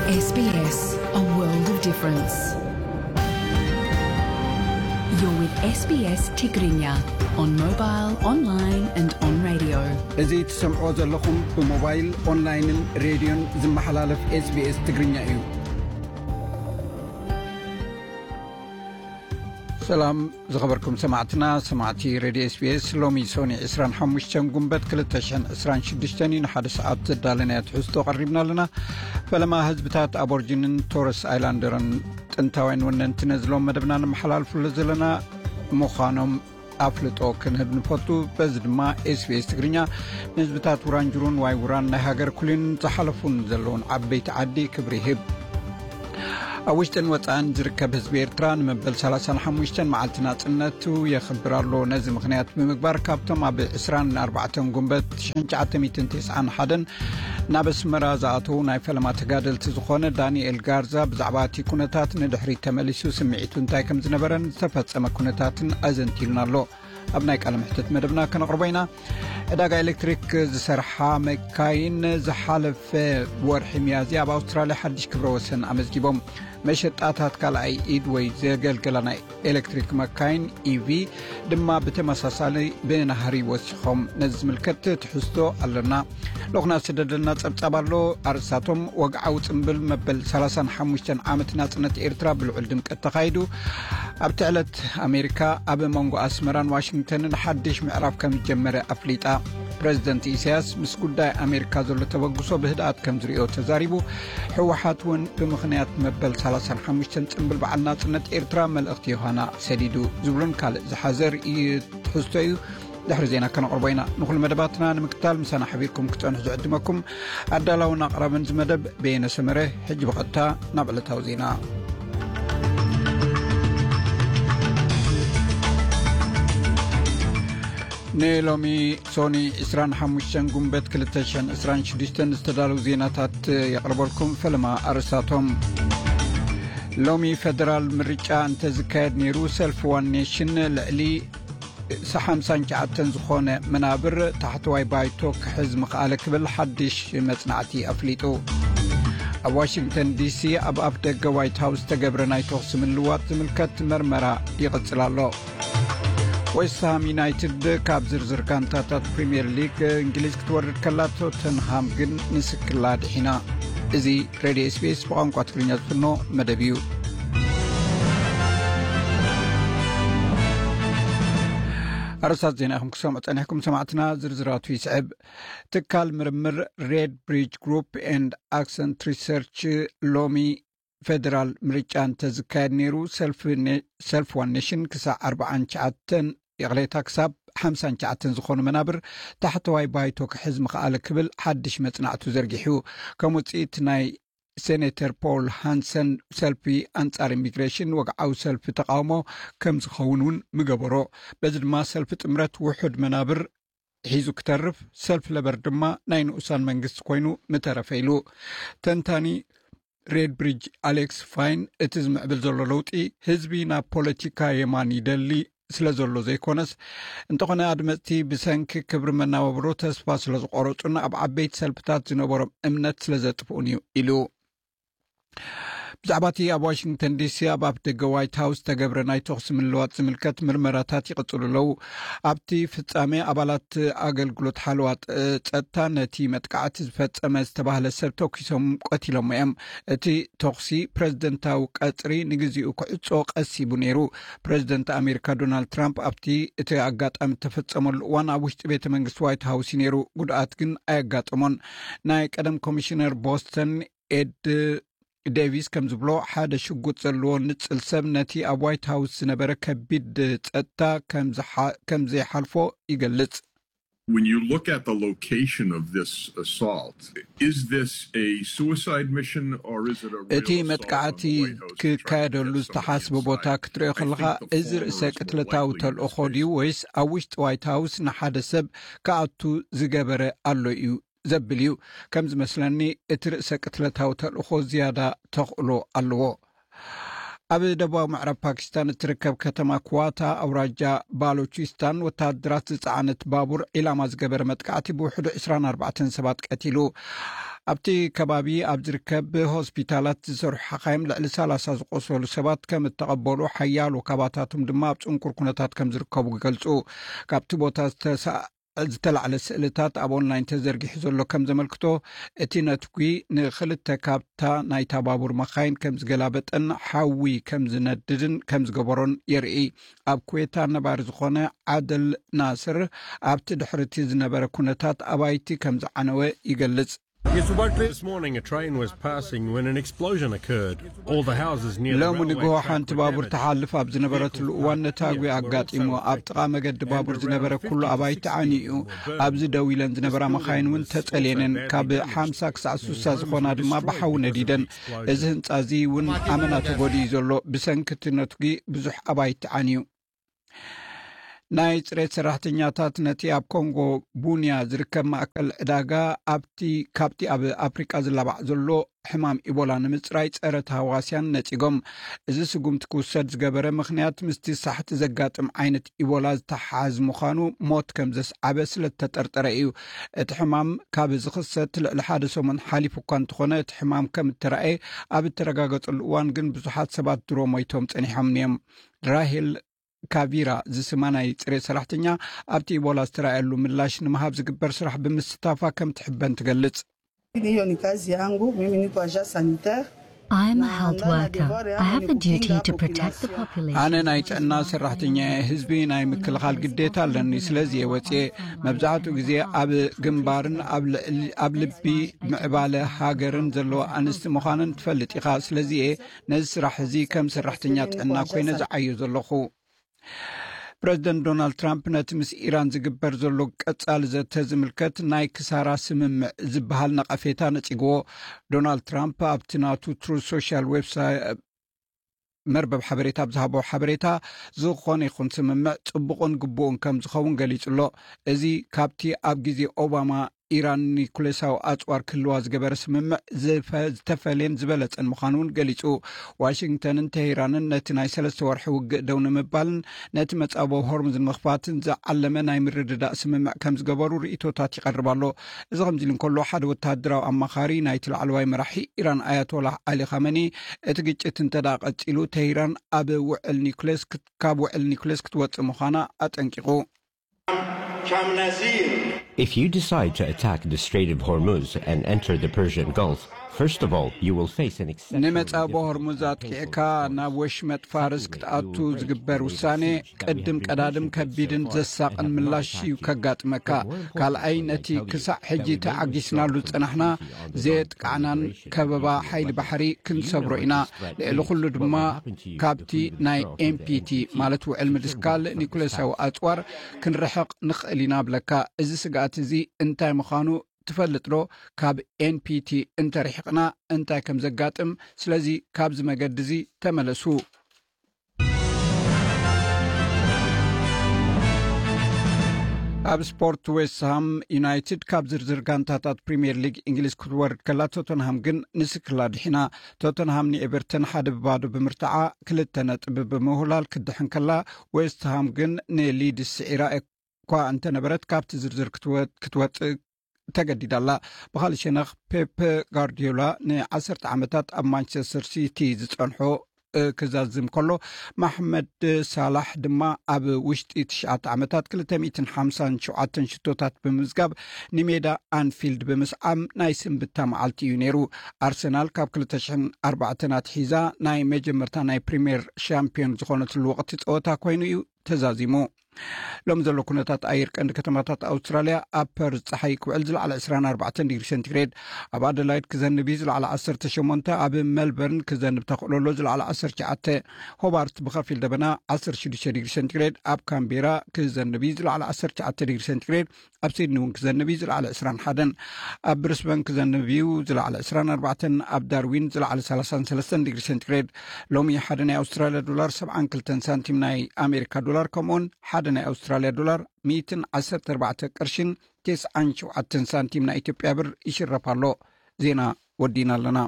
S B S, a world of difference. You're with S B S Tigrinya on mobile, online and on radio. እዚ ትሰምዕዎ ዘለኹም ብሞባይል፣ ኦንላይንን ሬድዮን ዝመሓላለፍ S B S ትግርኛ እዩ። ሰላም ዝኸበርኩም ሰማዕትና፣ ሰማዕቲ ሬድዮ S B S፣ ሎሚ ሶኒ ዕስራን ሓሙሽተን ጉንበት ክልተ ሽሕን ዕስራን ሽዱሽተን እዩ። ንሓደ ሰዓት ዘዳለናዮ ትሕዝቶ ቀሪብና ኣለና። ፈለማ ህዝብታት ኣቦርጂንን ቶረስ ኣይላንደርን ጥንታውያን ወነንቲ ነዚ ሎም መደብና ንመሓላልፉሉ ዘለና ምዃኖም ኣፍልጦ ክንህብ ንፈቱ። በዚ ድማ S B S ትግርኛ ንህዝብታት ውራንጅሩን ዋይ ውራን ናይ ሃገር ኩሊን ዝሓለፉን ዘለውን ዓበይቲ ዓዲ ክብሪ ይህብ። ኣብ ውሽጥን ወጻእን ዝርከብ ህዝቢ ኤርትራ ንመበል ሰላሳን ሓሙሽተን መዓልቲ ናጽነቱ የኽብር ኣሎ። ነዚ ምኽንያት ብምግባር ካብቶም ኣብ ዕስራን ኣርባዕተን ጉንበት ሽሕን ትሽዓተ ሚእትን ተስዓን ሓደን ናብ ኣስመራ ዝኣተዉ ናይ ፈለማ ተጋደልቲ ዝኾነ ዳንኤል ጋርዛ ብዛዕባ እቲ ኩነታት ንድሕሪት ተመሊሱ ስምዒቱ እንታይ ከም ዝነበረን ዝተፈጸመ ኩነታትን ኣዘንቲሉና ኣሎ። ኣብ ናይ ቃለ መሕትት መደብና ከነቕርቦ ኢና። ዕዳጋ ኤሌክትሪክ ዝሰርሓ መካይን ዝሓለፈ ወርሒ ሚያዝያ ኣብ ኣውስትራልያ ሓድሽ ክብረ ወሰን ኣመዝጊቦም። መሸጣታት ካልኣይ ኢድ ወይ ዘገልገላ ናይ ኤሌክትሪክ መካይን፣ E V፣ ድማ ብተመሳሳሊ ብናህሪ ወሲኾም። ነዚ ዝምልከት ትሕዝቶ ኣለና። ልኡኽና ዝሰደደልና ጸብጻብ ኣሎ። ኣርእስታቶም፣ ወግዓዊ ጽምብል መበል ሰላሳን ሓሙሽተን ዓመት ናጽነት ኤርትራ ብልዑል ድምቀት ተኻይዱ። ኣብቲ ዕለት ኣሜሪካ ኣብ መንጎ ኣስመራን ዋሽንግተንን ሓድሽ ምዕራፍ ከም ዝጀመረ ኣፍሊጣ። ፕረዚደንት ኢሳያስ ምስ ጉዳይ ኣሜሪካ ዘሎ ተበግሶ ብህድኣት ከም ዝሪኦ ተዛሪቡ። ህወሓት እውን ብምኽንያት መበል ሰላሳን ሓሙሽተን ጽምብል በዓል ናጽነት ኤርትራ መልእኽቲ ዮሃና ሰዲዱ ዝብሉን ካልእ ዝሓዘ ርእዩ ትሕዝቶ እዩ። ድሕሪ ዜና ከነቕርቦ ኢና። ንኹሉ መደባትና ንምክታል ምሳና ሓቢርኩም ክጸንሑ ዝዕድመኩም ኣዳላውን ኣቕራብን እዚ መደብ በየነ ሰመረ። ሕጂ ብቐጥታ ናብ ዕለታዊ ዜና። ንሎሚ ሶኒ ዕስራን ሓሙሽተን ጉንበት ክልተ ሽሕን ዕስራን ሽዱሽተን ዝተዳለዉ ዜናታት የቕርበልኩም። ፈለማ ኣርእስታቶም። ሎሚ ፈደራል ምርጫ እንተዝካየድ ነይሩ፣ ሰልፊ ዋን ኔሽን ልዕሊ ሓምሳን ትሽዓተን ዝኾነ መናብር ታሕተዋይ ባይቶ ክሕዝ ምኽኣለ ክብል ሓድሽ መጽናዕቲ ኣፍሊጡ። ኣብ ዋሽንግተን ዲሲ ኣብ ኣፍ ደገ ዋይት ሃውስ ዝተገብረ ናይ ተኹሲ ምልዋጥ ዝምልከት መርመራ ይቕጽል ኣሎ። ዌስትሃም ዩናይትድ ካብ ዝርዝር ጋንታታት ፕሪምየር ሊግ እንግሊዝ ክትወርድ ከላ፣ ቶተንሃም ግን ንስክላ ድሒና። እዚ ሬድዮ S B S ብቋንቋ ትግርኛ ዝፍኖ መደብ እዩ። ኣርእስታት ዜና ኢኹም ክሰምዑ ጸኒሕኩም ሰማዕትና፣ ዝርዝራቱ ይስዕብ። ትካል ምርምር ሬድ ብሪጅ ግሩፕ ኤንድ ኣክሰንት ሪሰርች ሎሚ ፈደራል ምርጫ እንተዝካየድ ነይሩ፣ ሰልፊ ኔ-፣ ሰልፊ ዋን ኔሽን ክሳዕ ኣርባዓን ትሽዓተን፣ ይቕሬታ፣ ክሳብ ሓምሳን ትሽዓተን ዝኾኑ መናብር ታሕተዋይ ባይቶ ክሕዝ ምኽኣለ ክብል ሓድሽ መጽናዕቱ ዘርጊሑ። ከም ውጽኢት ናይ ሴኔተር ፖል ሃንሰን ሰልፊ ኣንጻር ኢሚግሬሽን ወግዓዊ ሰልፊ ተቃውሞ ከም ዝኸውን እውን ምገበሮ። በዚ ድማ ሰልፊ ጥምረት ውሑድ መናብር ሒዙ ክተርፍ፣ ሰልፊ ለበር ድማ ናይ ንኡሳን መንግስቲ ኮይኑ ምተረፈ ኢሉ። ተንታኒ ሬድ ብሪጅ ኣሌክስ ፋይን፣ እቲ ዝምዕብል ዘሎ ለውጢ ህዝቢ ናብ ፖለቲካ የማን ይደሊ ስለ ዘሎ ዘይኮነስ፣ እንተኾነ ኣድመፅቲ ብሰንኪ ክብሪ መናባብሮ ተስፋ ስለ ዝቆረፁን ኣብ ዓበይቲ ሰልፍታት ዝነበሮም እምነት ስለ ዘጥፍኡን እዩ ኢሉ። ብዛዕባ እቲ ኣብ ዋሽንግተን ዲሲ ኣብ ኣፍ ደገ ዋይት ሃውስ ዝተገብረ ናይ ተኹሲ ምልዋጥ ዝምልከት ምርመራታት ይቕጽሉ ኣለዉ። ኣብቲ ፍጻሜ ኣባላት ኣገልግሎት ሓለዋ ጥ-፣ ጸጥታ ነቲ መጥቃዕቲ ዝፈጸመ ዝተባህለ ሰብ ተኩሶም ቀቲሎሞ እዮም። እቲ ተኹሲ ፕረዚደንታዊ ቀጽሪ ንግዚኡ ክዕጾ ቀሲቡ ነይሩ። ፕረዚደንት ኣሜሪካ ዶናልድ ትራምፕ ኣብቲ እቲ ኣጋጣሚ እተፈጸመሉ እዋን ኣብ ውሽጢ ቤተ መንግስቲ ዋይት ሃውስ እዩ ነይሩ። ጉድኣት ግን ኣየጋጠሞን። ናይ ቀደም ኮሚሽነር ቦስተን ኤድ ዴቪስ ከም ዝብሎ፣ ሓደ ሽጉጥ ዘለዎ ንጽል ሰብ ነቲ ኣብ ዋይት ሃውስ ዝነበረ ከቢድ ጸጥታ ከም ዝሓ-፣ ከም ዘይሓልፎ ይገልጽ። When you look at the location of this assault, is this a suicide mission or is it a real እቲ assault on መጥቃዕቲ the White House to try to ክካየደሉ get somebody ዝተሓስበ ቦታ inside? ክትሪኦ I ከለኻ፣ think the እዚ former ርእሰ is more ቅትለታዊ likely in this ተልእኾ case. ድዩ ወይስ ኣብ ውሽጢ ዋይት ሃውስ ንሓደ ሰብ ክኣቱ ዝገበረ ኣሎ እዩ ዘብል እዩ። ከም ዝመስለኒ፣ እቲ ርእሰ ቅትለታዊ ተልእኾ ዝያዳ ተኽእሎ ኣለዎ። ኣብ ደቡባዊ ምዕራብ ፓኪስታን እትርከብ ከተማ ክዋታ፣ ኣውራጃ ባሎቺስታን፣ ወተሃደራት ዝጸዓነት ባቡር ዒላማ ዝገበረ መጥቃዕቲ ብውሕዱ ዕስራን ኣርባዕተን ሰባት ቀቲሉ። ኣብቲ ከባቢ ኣብ ዝርከብ ሆስፒታላት ዝሰርሑ ሓኻይም ልዕሊ ሰላሳ ዝቆሰሉ ሰባት ከም እተቐበሉ፣ ሓያሎ ካባታቶም ድማ ኣብ ጽንኩር ኩነታት ከም ዝርከቡ ይገልጹ። ካብቲ ቦታ ዝተሳ-፣ ዝተላዕለ ስእልታት ኣብ ኦንላይን ተዘርጊሑ ዘሎ ከም ዘመልክቶ፣ እቲ ነትጒ ንኽልተ ካብታ ናይታ ባቡር መኻይን ከም ዝገላበጠን ሓዊ ከም ዝነድድን ከም ዝገበሮን የርኢ። ኣብ ኩዌታ ነባሪ ዝኾነ ዓደል ናስር፣ ኣብቲ ድሕርቲ ዝነበረ ኩነታት ኣባይቲ ከም ዝዓነወ ይገልጽ። This morning, a train was passing when an explosion occurred. All the houses near the ሎሚ railway ንግሆ track ሓንቲ were ባቡር damaged. ትሓልፍ ኣብ ዝነበረትሉ እዋን ነታጒ ኣጋጢሙ። ኣብ ጥቓ መገዲ ባቡር ዝነበረ ኩሉ ኣባይቲ ዓንዩ እዩ። ኣብዚ ደው ኢለን ዝነበራ መኻይን እውን ተጸልየነን። ካብ ሓምሳ ክሳዕ ስሳ ዝኾና ድማ ብሓዊ ነዲደን። እዚ ህንጻ እዚ እውን ኣመና ተጎዲኡ ዘሎ። ብሰንኪ እቲ ነትጒ ብዙሕ ኣባይቲ ዓንዩ። ናይ ጽሬት ሰራሕተኛታት ነቲ ኣብ ኮንጎ ቡንያ ዝርከብ ማእከል ዕዳጋ ኣብቲ፣ ካብቲ ኣብ ኣፍሪቃ ዝላባዕ ዘሎ ሕማም ኢቦላ ንምጽራይ ጸረ ተሃዋስያን ነጺጎም። እዚ ስጉምቲ ክውሰድ ዝገበረ ምኽንያት ምስቲ ሳሕቲ ዘጋጥም ዓይነት ኢቦላ ዝተሓሓዝ ምዃኑ ሞት ከም ዘስዓበ ስለ ዝተጠርጠረ እዩ። እቲ ሕማም ካብ ዝኽሰት ልዕሊ ሓደ ሰሙን ሓሊፉ እኳ እንተኾነ፣ እቲ ሕማም ከም እተራእየ ኣብ እተረጋገጸሉ እዋን ግን ብዙሓት ሰባት ድሮ ሞይቶም ጸኒሖም እዮም። ራሄል ካቪራ ዝስማ ናይ ጽሬት ሰራሕተኛ ኣብቲ ኢቦላ ዝተራእየሉ ምላሽ ንምሃብ ዝግበር ስራሕ ብምስታፋ ከም ትሕበን ትገልጽ። Hiyo ni kazi yangu, mimi niko agent sanitaire. I am a health worker. I have a duty to protect the population. ኣነ ናይ ጥዕና ሰራሕተኛ እየ። ህዝቢ ናይ ምክልኻል ግዴታ ኣለኒ። ስለዚ እየ ወፅየ። መብዛሕትኡ ግዜ ኣብ ግንባርን ኣብ ልዕሊ፣ ኣብ ልቢ ምዕባለ ሃገርን ዘለዋ ኣንስቲ ምዃነን ትፈልጥ ኢኻ። ስለዚ እየ ነዚ ስራሕ እዚ ከም ሰራሕተኛ ጥዕና ኮይነ ዝዓዮ ዘለኹ። ፕረዚደንት ዶናልድ ትራምፕ ነቲ ምስ ኢራን ዝግበር ዘሎ ቀጻሊ ዘተ ዝምልከት ናይ ክሳራ ስምምዕ ዝበሃል ነቐፌታ ነጺግዎ። ዶናልድ ትራምፕ ኣብቲ ናቱ ትሩዝ ሶሻል ዌብሳይት መርበብ ሓበሬታ ኣብ ዝሃቦ ሓበሬታ፣ ዝኾነ ይኹን ስምምዕ ጽቡቕን ግቡእን ከም ዝኸውን ገሊጹ ኣሎ። እዚ ካብቲ ኣብ ግዜ ኦባማ ኢራን ኒኩሌሳዊ ኣጽዋር ክህልዋ ዝገበረ ስምምዕ ዝፈ-፣ ዝተፈልየን ዝበለጸን ምዃኑ እውን ገሊጹ። ዋሽንግተንን ቴሄራንን ነቲ ናይ ሰለስተ ወርሒ ውግእ ደው ንምባልን ነቲ መጻብቦ ሆርሙዝ ንምኽፋትን ዝዓለመ ናይ ምርድዳእ ስምምዕ ከም ዝገበሩ ርእይቶታት ይቐርብ ኣሎ። እዚ ከምዚ ኢሉ እንከሎ፣ ሓደ ወተሃደራዊ ኣማኻሪ ናይቲ ላዕለዋይ መራሒ ኢራን ኣያቶላህ ዓሊ ኻመኒ፣ እቲ ግጭት እንተ ደኣ ቀጺሉ፣ ቴሄራን ኣብ ውዕል ኒኩሌስ ክት-፣ ካብ ውዕል ኒኩሌስ ክትወጽእ ምዃና ኣጠንቂቑ። If you decide to attack the Strait of Hormuz and enter the Persian Gulf, first of all, you will face an exceptional ንመጻብቦ ሆርሙዝ ኣጥቂዕካ ናብ ወሽመጥ ፋርስ ክትኣቱ ዝግበር ውሳኔ፣ ቅድም ቀዳድም ከቢድን ዘሳቕን ምላሽ እዩ ከጋጥመካ። ካልኣይ፣ ነቲ ክሳዕ ሕጂ ተዓጊስናሉ ዝጸናሕና ዘየጥቃዕናን ከበባ ሓይሊ ባሕሪ ክንሰብሮ ኢና። ልዕሊ ኩሉ ድማ ካብቲ ናይ ኤን ፒ ቲ፣ ማለት ውዕል ምድስካል ኒኩሌሳዊ ኣጽዋር ክንርሕቕ ንኽእል ኢና ብለካ። እዚ ስግኣት እዚ እንታይ ምዃኑ ትፈልጥ ዶ? ካብ ኤን ፒ ቲ እንተርሒቕና እንታይ ከም ዘጋጥም፣ ስለዚ ካብዚ መገዲ እዚ ተመለሱ። ኣብ ስፖርት፣ ዌስትሃም ዩናይትድ ካብ ዝርዝር ጋንታታት ፕሪምየር ሊግ እንግሊዝ ክትወርድ ከላ፣ ቶተንሃም ግን ንስክላ ድሒና። ቶተንሃም ንኤቨርተን ሓደ ብባዶ ብምርታዓ ክልተ ነጥቢ ብምውህላል ክድሕን ከላ፣ ዌስትሃም ግን ንሊድስ ስዒራ እኳ እንተነበረት፣ ካብቲ ዝርዝር ክትወ-፣ ክትወጽእ ተገዲዳ ኣላ። ብኻልእ ሸነኽ፣ ፔፕ ጋርዲዮላ ንዓሰርተ ዓመታት ኣብ ማንቸስተር ሲቲ ዝጸንሖ፣ እ፣ ክዛዝም ከሎ፣ ማሕመድ ሳላሕ ድማ ኣብ ውሽጢ ትሽዓተ ዓመታት ክልተ ሚእትን ሓምሳን ሸውዓተን ሽቶታት ብምምዝጋብ፣ ንሜዳ ኣንፊልድ ብምስዓም ናይ ስንብታ መዓልቲ እዩ ነይሩ። ኣርሰናል ካብ ክልተ ሽሕን ኣርባዕተን ኣትሒዛ ናይ መጀመርታ ናይ ፕሪምየር ሻምፒዮን ዝኾነትሉ ወቕቲ ጸወታ ኮይኑ እዩ ተዛዚሙ። ሎም ዘሎ ኩነታት ኣየር ቀንዲ ከተማታት ኣውስትራልያ፣ ኣብ ፐርዝ ጸሓይ ክውዕል ዝለዓለ ዕስራን ኣርባዕተን ዲግሪ ሴንቲግሬድ፣ ኣብ ኣደላይድ ክዘንብ እዩ ዝለዓለ ዓሰርተ ሸሞንተ፣ ኣብ ሜልበርን ክዘንብ ተኽእሎ ኣሎ ዝለዓለ ዓሰርተ ትሽዓተ፣ ሆባርት ብኸፊል ደበና ዓሰርተ ሽዱሽተ ዲግሪ ሴንቲግሬድ፣ ኣብ ካምቤራ ክዘንብ እዩ ዝለዓለ ዓሰርተ ትሽዓተ ዲግሪ ሴንቲግሬድ፣ ኣብ ሲድኒ እውን ክዘንብ እዩ ዝለዓለ ዕስራን ሓደን፣ ኣብ ብሪስበን ክዘንብ እዩ ዝለዓለ ዕስራን ኣርባዕተን፣ ኣብ ዳርዊን ዝለዓለ ሰላሳን ሰለስተን ዲግሪ ሴንቲግሬድ። ሎሚ ሓደ ናይ ኣውስትራልያ ዶላር ሰብዓን ክልተን ሳንቲም ናይ ኣሜሪካ ዶላር፣ ከምኡውን ሓደ ናይ ኣውስትራልያ ዶላር ሚእትን ዓሰርተ ኣርባዕተ ቅርሽን ተስዓን ሸውዓተን ሳንቲም ናይ ኢትዮጵያ ብር ይሽረፍ ኣሎ። ዜና ወዲና ኣለና።